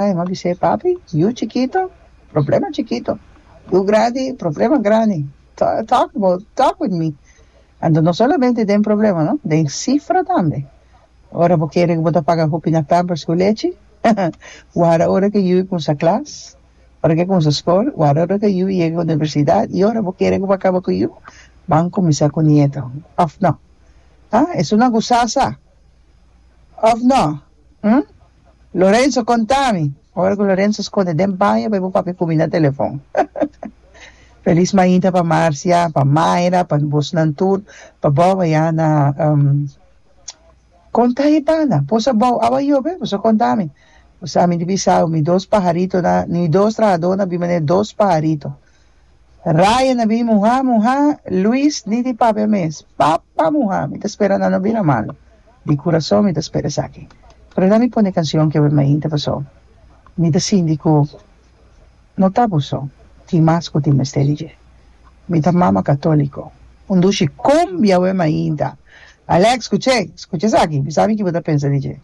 Mi a bis'é, Papi, yu chikito, problema chikito. Yu grandi, problema grandi. Talk about, talk with me. Anto no solamente den problema, no, den sifra tambe. Ora bo kere ku bo ta paga hopi na pampers ku lechi, warda ora ku e yu kumsa klas, ora ku e kumsa skol, warda ora ku e yu yega universidat i ora bo kere ku bo a kaba ku yu, ban kuminsá ku nieto. Òf no? Ha? Esun a gusta sa. Òf no? Hm? Lorenzo, konta mi. Ora ku Lorenzo skonde den baño pa e por papia ku mi na telefon. Felis mainta pa Marcia, pa Mayra, pa bosnan tur, pa Bob ayá na Konta e banda. Bo sa bou awa yobe? Bo sa konta mi. Bo sa mi di bisa mi dos paharitonan, mi dos trahadónan a bin manera dos paharito. Ryan a bin muhá, muhá, Luis ni di papia mes. Papa muhá, mi ta spera nan no bira malo. Di kurason mi ta spera esaki. Pero nan mi pone kansion ke mainta paso mi ta sinti ku no ta bo so, tin mas ku tin mester di dje. Mi ta mama katoliko. Un dushi kumbia we mainta. Alex, skuch'é, skucha esaki, bisa mi ki bo ta pensa di dje.